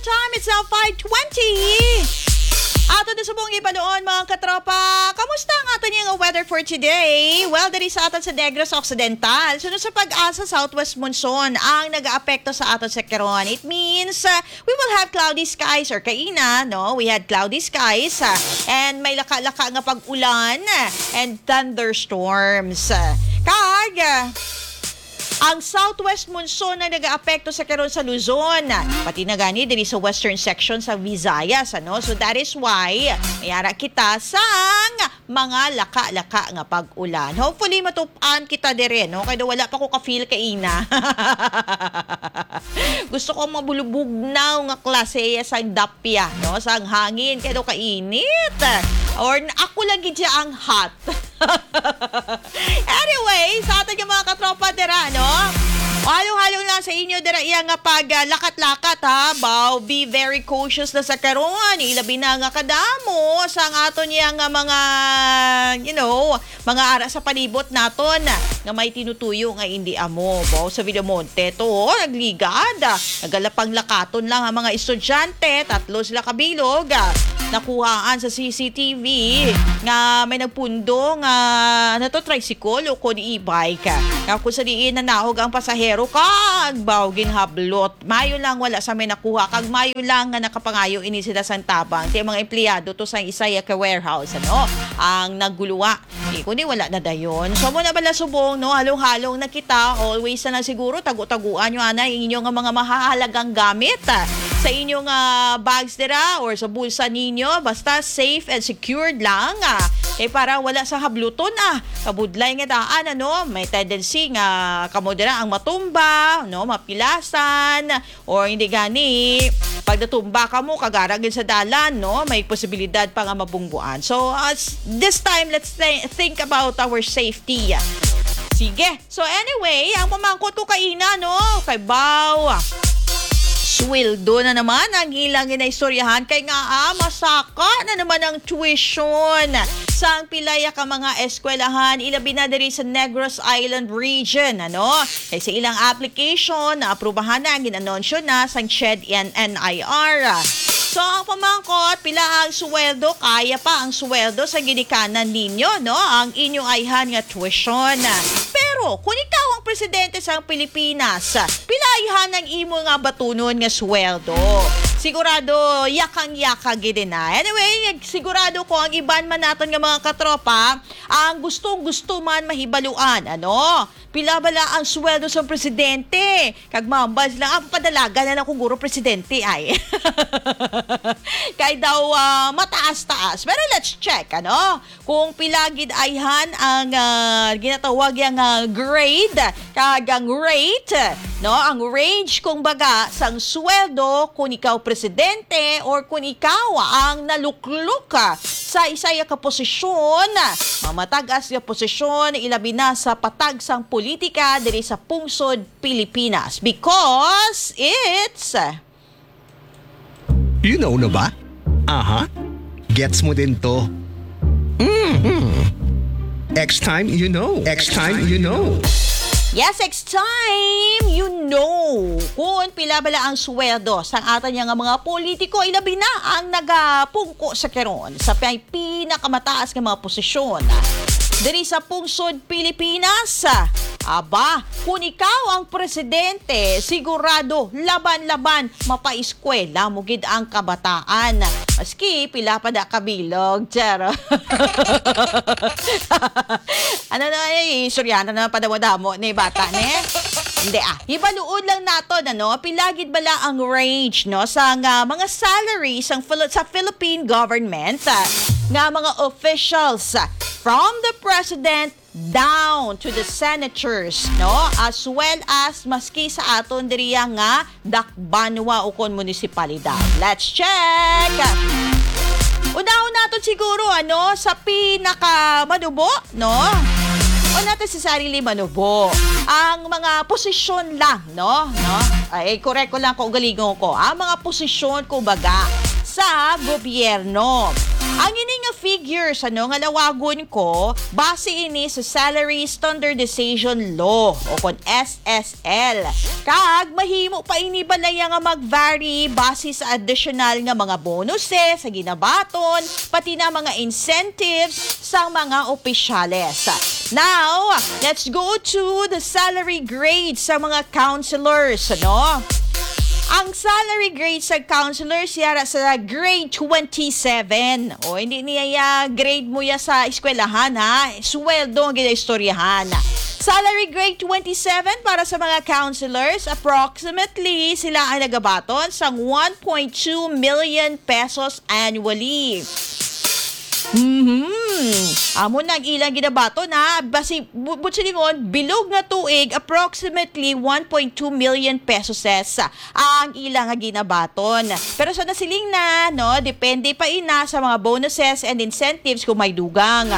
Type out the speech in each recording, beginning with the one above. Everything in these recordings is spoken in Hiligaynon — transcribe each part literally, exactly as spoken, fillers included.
Time, it's now five twenty. Ato na subong ibaluon, mga katropa. Kamusta ang aton nga weather for today? Well, diri sa aton sa Negros Occidental, sunod sa pag-asa, southwest monsoon ang nagaapekto sa aton sa karon. It means, uh, we will have cloudy skies or kaina, no? We had cloudy skies, uh, and may laka-laka nga pag-ulan, uh, and thunderstorms. Kag, uh, ang southwest monsoon ang nagaapekto sa karon sa Luzon, pati na gani diri sa western section sa Visayas, ano? So that is why may ara kita sang mga laka-laka nga pag-ulan. Hopefully matup-an kita dire, no? Kay daw wala pa ko ka-feel kaina. Gusto ko mabulubugnaw nga klase sang dapya, no? Sang hangin, kay daw kainit. Or ako lang gid siya ang hot. Anyway, sa aton nga mga katropa dira, no? Halong-halong lang sa inyo dira iya nga pag, ah, lakat-lakat, ha? Baw, be very cautious na sa karon. Ilabi na nga kadamo sang aton iya nga mga, you know, mga ara sa palibot naton nga may tinutuyo nga indi amo. Baw, sa Villamonte to, oh, nagligad. Nagalapang lakaton lang ang mga estudyante. Tatlo sila kabilog. Ah, nakuhaan sa C C T V nga may nagpundo nga, ano to, tricycle o kon e-bike. Nga kung sa diin nanahog ang pasahero, kag baw ginhablot. Mayo lang wala sa may nakuha, kag mayo lang nga nakapangayo ini sila sang tabang. Ti mga empleyado to sang isa ka warehouse, ano, ang naguluwa. Di kundi wala na dayon. So, mo na bala subong, no? Halong-halong na kita. Always na lang siguro, tago-taguan nyo, ana, ang inyo nga mga mahahalagang gamit, ah, sa inyo nga bags dira or sa bulsa ninyo. Basta safe and secured lang, ah. Kay para wala sa habluton, ah. Kabudlay nga daan, ano? May tendency nga kamo dira ang matumba, no? Mapilasan, or hindi gani, pag natumba kamo, kag ara gid sa dalan, no? May posibilidad pa nga mabungguan. So, as this time, let's thi-, think about our safety. Sige. So, anyway, ang pamangkot ko kaina, no? Kay baw, sweldo na naman ang ilang ginaistoryahan. Kay nga, ah, masaka na naman ang tuition sang pilaya ka mga eskwelahan, ilabi na diri sa Negros Island Region, ano? Kay sa ilang application, naaprubahan na, gin-anunsyo na sang CHED and N I R. So, ang pamangkot, pila ang sweldo? Kaya pa ang sweldo sa ginikanan ninyo, no? Ang inyo ayhan nga tuition. Pero, kung ikaw ang presidente sang Pilipinas, pila ayhan ang imo nga batunon nga sweldo? Sigurado, yakang-yaka gid na. Anyway, sigurado ko ang iban man naton nga mga katropa, ang gustong-gusto man mahibaluan, ano? Pila bala ang sweldo sa presidente? Kag mambal sila, ah, padalagan na lang kung guro presidente ay. Kay daw, ah, mataas-taas. Pero let's check, ano? Kung pila gid ayhan ang, ah, ginatawag yang, ah, grade, kag ang rate, no? Ang range, kumbaga, sang sweldo kung ikaw presidente or kung ikaw ang naluklok, ah, sa isa ka posisyon, mamatag-as nga posisyon, ilabi na sa patag sang politika diri sa pungsod Pilipinas. Because it's You know na ba? Aha. Gets mo din to. Mhm. X time, you know. X time, you know. Yes, X time, you know. Kung pila bala ang sweldo sang aton nga mga politiko, ilabi na ang nagapungko sa karon sa pay-, pinakamataas nga mga posisyon diri sa pungsod Pilipinas. Aba, kung ikaw ang presidente, sigurado laban-laban mapaeskwela mo gid ang kabataan. Maski pila pa da kabilog, charo. Ano na, eh, istoryahan na naman padamo-damo ni bata, ne? Hindi, ah. Hibaluon lang naton, ano, pila gid bala ang range, no, sa nga mga salary sang Phil-, sa Philippine government, ah, nga mga officials, ah, from the president down to the senators, no, as well as maski sa aton diriya nga dakbanwa ukon munisipalidad. Let's check! Unahon naton siguro, ano, sa pinakamanubo, no? O natin si Sarili Manubo. Ang mga posisyon lang, no? No? Ay, correct ko lang kung galingon ko. Ang mga posisyon, kumbaga, sa gobyerno. Ang ini nga figures, ano, nga lawagon ko, base ini sa Salary Standardization Law o kon S S L. Kag mahimo pa ini balaya nga mag-vary base sa additional nga mga bonuses sa ginabaton, pati na mga incentives sang mga opisyales. Now, let's go to the salary grades sa mga counselors, no? Ang salary grade sa counselors yara sa grade twenty-seven. O, hindi niya ya grade mo ya sa eskwelahan, ha? Sweldo ang ginaistoryahan. Salary grade twenty-seven para sa mga counselors, approximately sila ang nagabaton sang one point two million pesos annually. Mhm. Amo nang ilang ginabaton, ha. Basi, bu-, buot silingon, bilog nga tuig, approximately one point two million pesos ang ilang nga ginabaton. Pero sa nasiling na, no, depende pa ina sa mga bonuses and incentives kung may dugang.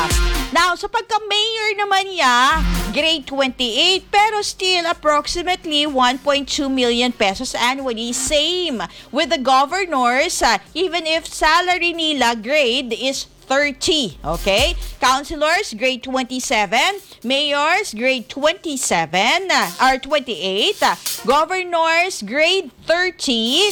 Now, sa pagka-mayor naman niya, grade twenty-eight, pero still approximately one point two million pesos annually. Same with the governors, uh, even if salary nila grade is thirty, okay? Councilors, grade twenty-seven. Mayors, grade twenty-seven, uh, or twenty-eight. Uh, governors, grade thirty.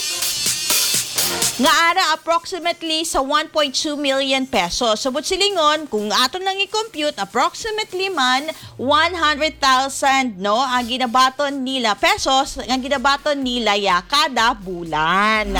Nga ara approximately sa one point two million pesos. So, buot silingon, kung aton lang i-compute, approximately man one hundred thousand, no, ang ginabaton nila pesos, ang ginabaton nila ya kada bulan.